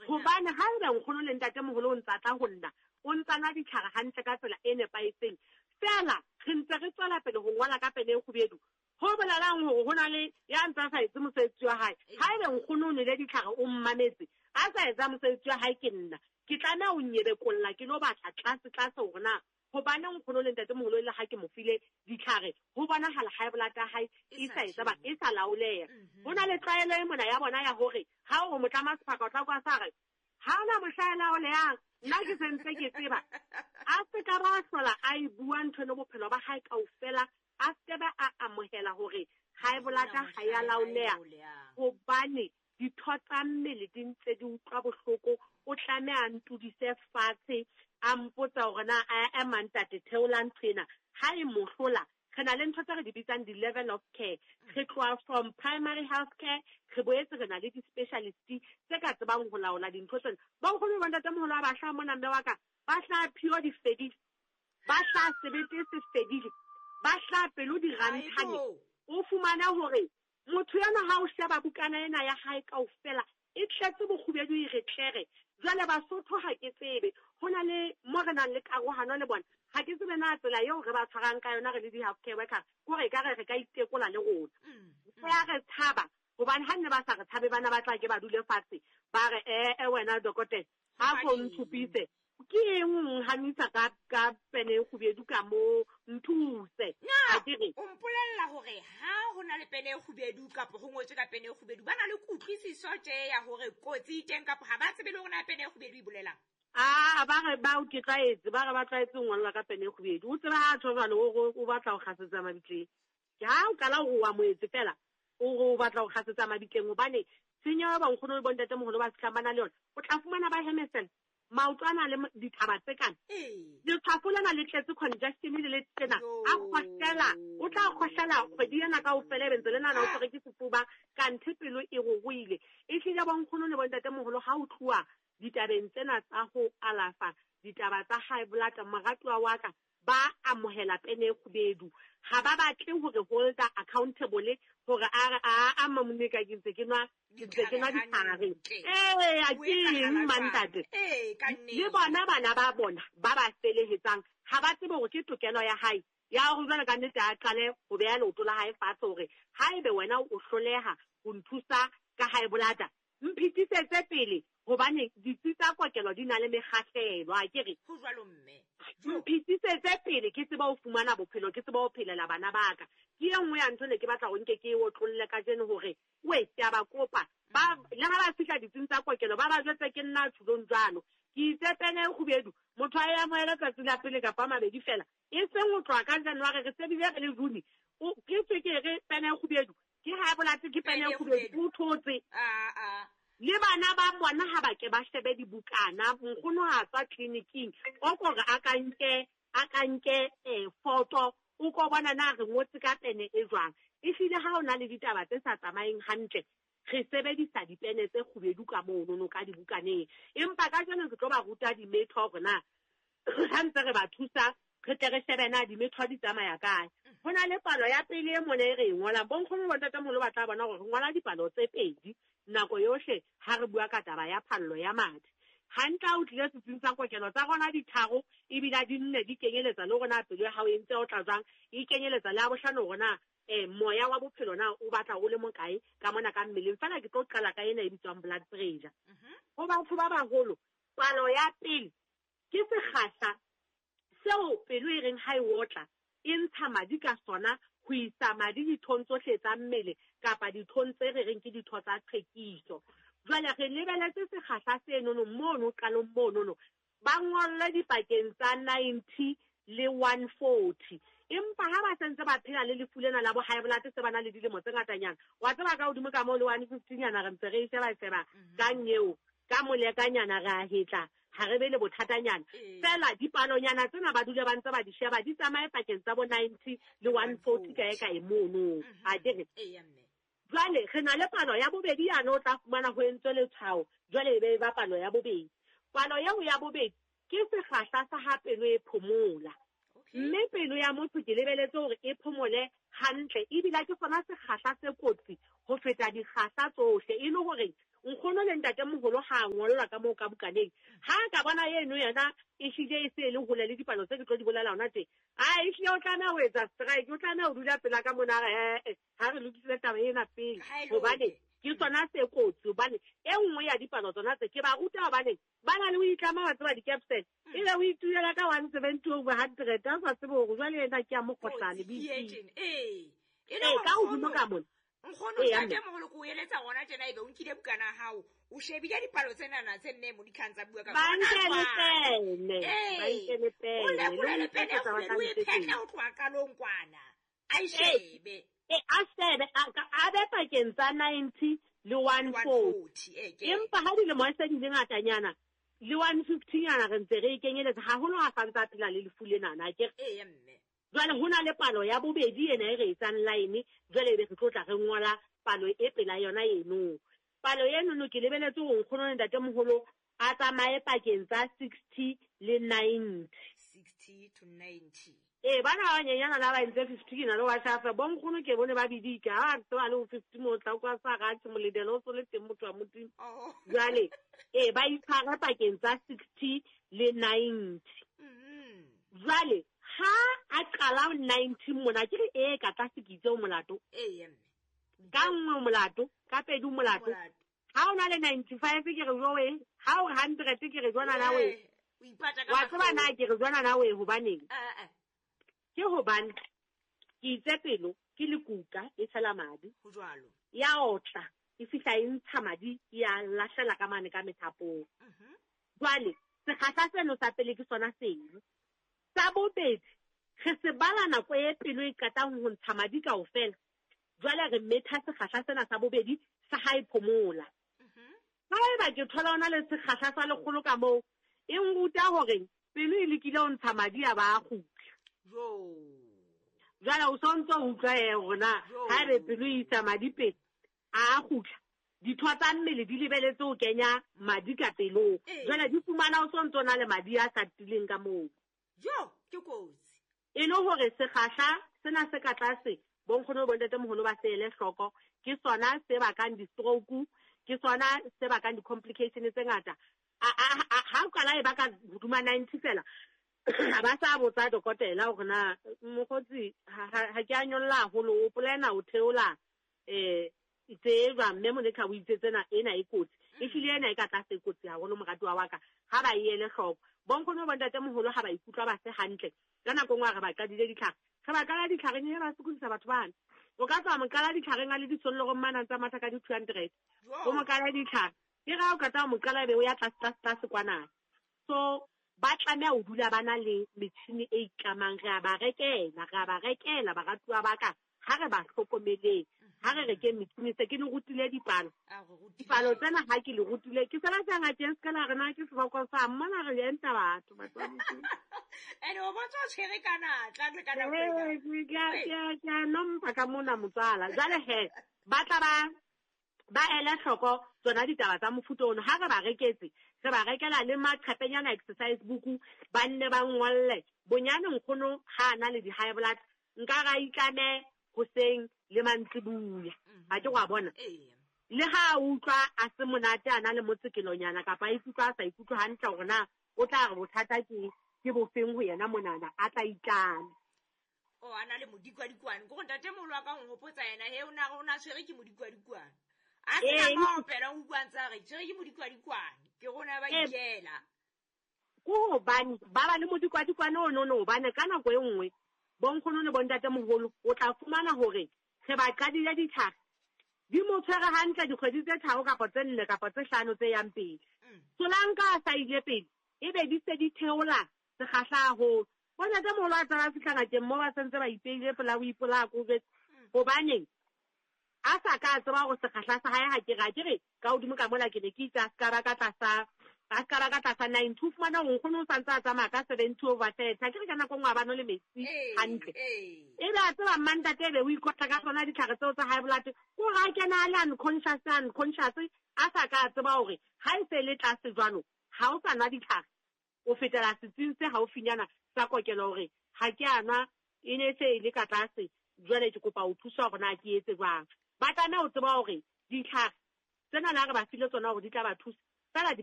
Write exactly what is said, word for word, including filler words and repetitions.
Hobane ha ebe nkgono le ntatemoholo o ntsa tla ho nna, o ntsa nwa ditlhare hantle ka tsela e nepahetseng, fela re ntse re tswela pele ho ngola ka pene e kgubedu, ho bolelang hore ho na le ya ntsa sa etse mosebetsi wa hae. Ha ebe nkgono o nwele ditlhare o mmametse, a sa etsa mosebetsi wa hae ke nna, ke tlameha ho nyebekolla ke lo batla tlase tlase hore na hobane nkgono le ntatemoholo le ha ke mo file ditlhare, ho bonahala high blood ya hae e sa etsa ba e sa laoleha. Ho na le tlwaelo e mona ya bona ya hore ha o motlama sephaka o tla kwa sa re ha ona mohla e laolehang, nna ke sentse ke tseba. A se ka ba hlola a e bua ntho eno bophelo ba hae kaofela, a se ba a amohela hore high blood ha ya laoleha, hobane ditho tsa mmele di ntse di utlwa bohloko. O tlameha a ntudise fatshe, a mpotsa hore na a ema ntate theola ntho ena. Ha e mo hlola, re na le ntho tse re di bitsang di-level of care. Re tloha from primary health care, re boetse re na le di-specialist tse ka tsebang ho laola dintho tsena. Ba nkgono le bontatemoholo ha ba hlaha mona mme wa ka, ba hlaha phio di fedile, ba hlaha sebete se fedile, ba hlaha pelo di ranthane. O fumana hore motho ena ha o sheba bukana ena ya hae kaofela e tletse bokgubedu e re tlere. Jwale Basotho ha ke tsebe, ho na le mo re nang le karohano le bona. Ha ke tsebe na tsela eo re ba tshwarang ka yona re le di-healthcare worker, kore ekare re ka itekola le rona. Re a re tshaba, hobane ha nne ba sa re tshabe bana ba tla ke ba dule fatshe, ba re, eh, eh, wena dokotela, ha ko ntshupise. Ke eng o nhanisa ka, ka pene e kgubedu ka mo nthuse? Na, Ha ke re. o mpolella hore ha ho na le pene e kgubedu kapa ho ngotswe ka pene e kgubedu, ba na le kutlwisiso tje ya hore kotsi e teng kapa ha ba tsebe le hore na pene e kgubedu e bolelang? Ah, ba re ba o ke tlwaetse, ba re ba tlwaetse ho ngolla ka pene e kgubedu. O tseba ha tjho jwalo, o re o batla ho kgasetsa mabitleng. Ke ha o qala ho wa moetse fela, o re o batla ho kgasetsa mabitleng, hobane tshenyo ya bonkgono le bontatemoholo ba fihlang ba na le yona, o tla fumana ba hemesela. Maoto a na le dithaba tse kana. Ee. Letshwafo lena le tletse congestion le le tsena. Yo. A kgohlela, o tla kgohlela kgwedi ena kaofela, ebe ntse le nahana o tshwerwe ke sefuba, kanthe pelo e ruruhile. Ehlile bonkgono le bontatemoholo ha o tluwa ditabeng tsena tsa ho alafa, ditaba tsa high blood, moratuwa wa ka, ba amohela pene e kgubedu. Ha ba batle hore holder accountable hore a re, a, a mamone ka ke ntse ke nwa, ke ntse ke nwa ditlhare. Ee, a ke eng, mantate? Ee, ka nnete. Le bona bana ba bona ba ba felehetsang, ha ba tsebe hore ke tokelo ya hae ya hore jwale ka nnete a qale ho beha leoto la hae fatshe hore haebe wena o hloleha ho nthusa ka high blood, mphetisetse pele, hobane ditsi tsa kokelo di na le mekgahlelo, ha ke re? Ho jwalo, mme. Mphetisetse pele ke tsebe ho fumana bophelo, ke tsebe ho phelela bana ba ka. Ke e nngwe ya ntho ne ke batla hore nke ke e otlolle kajeno hore, we, ke a ba kopa. Ba, le ha ba fihla ditsing tsa kokelo, ba ba jwetse ke nna tjhulong jwalo. Ke itse pene e kgubedu, motho a e amohele tsatsi la pele kapa a mabedi fela. E seng ho tloha ka January, re se bile re le June. O, ke tswe ke re pene e kgubedu, ke high blood, ke pene e kgubedu, o thotse. Ah, ah. Le bana ba bona ha ba ke ba shebe dibukana, nkgono ha tswa tleliniking, o kore a ka nke, a ka nke, eh, foto, o ko bona na re ngotse ka pene e jwang. Ehlile ha o na le ditaba tse sa tsamayeng hantle, re sebedisa dipene tse kgubedu ka monono ka dibukaneng. Empa kajeno ke tlo ba ruta dimetho hore na ha ntse re ba thusa, re tle re shebe na dimetho di tsamaya kae. Ho na le palo ya pele e mona e re e ngolang. Bonkgono le bontatemoholo ba tla bona hore re ngola dipalo tse pedi nako yohle ha re bua ka taba ya phallo ya madi. Hantle ha o tlile setsing sa kokelo tsa rona di tharo, ebile di nne di kenyeletsa le hore na pelo ya hao e ntse o tla jwang, e kenyeletsa le ya bohlano hore na, eh, moya wa bophelo na o batla o le mokae ka mona ka mmeleng. Feela ke tlo qala ka ena e bitswang blood pressure. Mhm. Ho batho ba baholo, palo ya pele ke sekgahla seo pelo e reng ha e otla, e ntsha madi ka sona ho isa madi dithong tsohle tsa mmele kapa dithong tse re reng ke ditho tsa tlhwekiso. Jwale re lebeletse sekgahla senono mono qalong monono, ba ngolle dipakeng tsa ninety le one forty. Empa ha ba sentse ba phela le lefu lena la bo high blood se ba na le dilemo tse ngatanyana, wa tseba ka hodimo ka moo le one fifty nyana re ntse re e sheba-sheba Mhm. ka nyeo, ka molekanyana re a hetla, ha re be le bothatanyana. Ee. Feela dipalonyana tsena ba dule ba ntse ba di sheba, di tsamaye pakeng tsa bo ninety le one forty kae kae mono. Mhm. Ha ke re? Ee, mme. Jwale re na le palo ya bobedi yane o tla fumana ho entswe letshwao, jwale e be e ba palo ya bobedi. Palo eo ya bobedi ke sekgahla sa ha pelo e phomola. Okay. Mme pelo ya motho ke lebeletse hore e phomole hantle, ebile ke sona sekgahla se kotsi ho feta dikgahla tsohle, e le hore Nkgono le ntatemoholo ha a ngollwa ka moo ka bukaneng. Ha ka bona eno yena e hlile e se e le hole le dipalo tse ke tlo di bolela hona tje. A ehlile o tlameha ho etsa strike, o tlameha ho dula pela ka mona a re eh ha re lokisitse taba ena pele. Hobane ke tsona tse kotsi, hobane e nngwe ya dipalo tsona tse ke ba ruta hobane ba na le ho itlama ba tseba di-capsule. Ebe o itulela ka one seventy over hundred, a sa tsebe hore jwale ena ke ya mokgohlane B P. Ee, e ka hodimo ka mona. Nkgono ntatemoholo ko o eletsa gona tjena ebe o nkile bukana ya hao, o shebile dipalo tsenana tse mme Monica ntsa bua ka Ba nkele pene, ba nkele pene. O lekole pene e kgubedu, o e phetle ho tloha qalong kwana. A e shebe. E a shebe, a be pakeng tsa ninety le one forty. Empa ha dilemo se di le ngatanyana, le one fifty nyana re ntse re e kenyeletsa haholo ha sa ntsa phela le lefu lenana, akere? Ee, mme. Jwale ho na le palo ya bobedi ena e re etsang line, jwale ebe re tlo tla re ngola palo e pela yona eno. Palo eno ke lebeletse hore nkgono le ntatemoholo a tsamaye pakeng tsa sixty le ninety. sixty to ninety. Ee, bana ba banyenyana la ba entse fifty ke na le wa shafa. Bo nkgono ke bone ba bidika, ha ba tseba le ho fifty mo tla kwa sa ratse moledelo o so le teng motho wa Modimo. Jwale, ee, ba itshware pakeng tsa sixty le ninety. Jwale, ha a qala ninety mona, ke re ee ka tlase ke itse o molato. Ee, mme. Ka nngwe molato, ka pedi molato. Ha o na le ninety-five ke re jowe, ha o hundred ke re jwana na we. O ipata ka Wa tseba na ke re jwana na we hobaneng? Eh, eh. Ke hobane ke itse pelo ke lekuka e tshela madi. Ho jwalo. Ya otla, e fihla e ntsha madi, ya lahlela ka mane ka methapong. Mhm. Jwale, sekgahla seno sa pele ke sona seno. Sa bobedi, re se bala nako e pelo e qetang ho ntsha madi kaofela. Jwale re metha sekgahla sena sa bobedi sa ha e phomola. Haeba ke thola ona le sekgahla sa lekgolo ka moo, e nruta hore pelo e lekile ho ntsha madi a ba a kgutla. Jo. Jwale o sontso o utlwa e hore na haebe pelo e isa madi pele, a kgutla. Ditho tsa mmele di lebeletse ho kenya madi ka pelong. Jwale di fumana o sontso na le madi a sa tileng ka moo. Jo, ke kotsi. E le hore sekgahla sena se ka tlase, bo nkgono le bo ntatemoholo ba se ele hloko, ke sona se bakang di-stroke, ke sona se bakang di-complication tse ngata. Ha o qala e baka hodima ninety fela, ba sa botsa dokotela hore na mokgotsi ha ke a nyolla haholo, o polena o theola eh tse jwang, mme Monica o itse tsena ena e kotsi. Ehlile ena e ka tlase e kotsi haholo moratuwa wa ka, ha ba e ele hloko. Bo nkgono le bo ntatemoholo ha ba ikutlwa ba se hantle, ka nako nngwe re ba qadile ditlhare. Re ba qala ditlhareng, e ba sokodisa batho bana. O ka tswa mo qala ditlhareng a le disollorong mane a ntsa matha ka di-two hundred. O mo qala ditlhare. Ke ra o qeta ho mo qala ebe o ya tlase, tlase, tlase kwana. So, ba tlameha ho dula ba na le metjhini e itlamang. Re a ba rekela, re a ba rekela baratuwa ba ka. Ha re ba hlokomeleng, ha re rekeng metjhini. Se ke le rutile dipalo. Dipalo tsena ha ke le rutile, ke sebetsa ngakeng se ka la re na ke seboko sa mona re enta batho, batho ba Modimo. Ene o bontsha o tshwere ka natla le ka nako ena. Ee, ke a, ke a, ke a nompa ka mona motswala. Jwale he, ba tla ba, ba ele hloko tsona ditaba tsa mofuta ono. Ha re ba reketse, re ba rekela le maqhepenyana exercise book, ba nne ba ngolle. Bonyane nkgono ha a na le di-high blood, nka ra itlame hoseng le mantsibuya. Ha ke wa bona? Le ha a utlwa a se monate a na le motsekelonyana kapa a ikutlwa a sa ikutlwe hantle hore na o tla re bothata ke, ke bofeng ho yena monana, a tla itlame. O a na le modikwadikwane. Ke gore ntatemoholo wa ka o nhopotsa yena, he o na re o na tshwere ke modikwadikwane. A se na maopelo, o bua ntse a re, tshwere ke modikwadikwane. Ke rona ba ikela. Ke hobane ba ba le modikwadikwane ono no, hobane ka nako e nngwe bo nkgono le bo ntatemoholo o tla fumana hore re ba qadile ditlhare di mo tshwere hantle dikgwedi tse tharo kapa tse nne kapa tse hlano tse yang pele. Solanka a sa ile pele, ebe di se di theola sekgahla haholo. Bo ntatemoholo a tsaba fihla ngakeng moo ba sentse ba ipeile pela o ipolaya ko jwetse. Hobaneng a sa ka tseba hore sekgahla sa hae ha ke re, ha ke re ka hodimo ka mola ke ne ke itse a ska ba ka tlasa, a ska ba ka tlasa ninety. O fumana hore nkgono o santse a tsamaya ka seventy over thirty. Ha ke re ka nako e nngwe ha ba nwe le metsi hantle. Ebe a tseba mmantate ebe o ikotla ka tsona ditlhare tseo tsa high blood. Ko re a kena a le unconscious, unconscious, a sa ka tseba hore ha e se le tlase jwalo, ha o sa nwa ditlhare, o fetela setsing se haufinyana sa kokelo hore ha ke a nwa, e ne se e le ka tlase, jwale ke kopa ho thuswa hore na ke etse jwang. Ba tlameha ho tseba hore ditlhare Tsena na re ba file tsona hore di tla ba thusa, feela di ka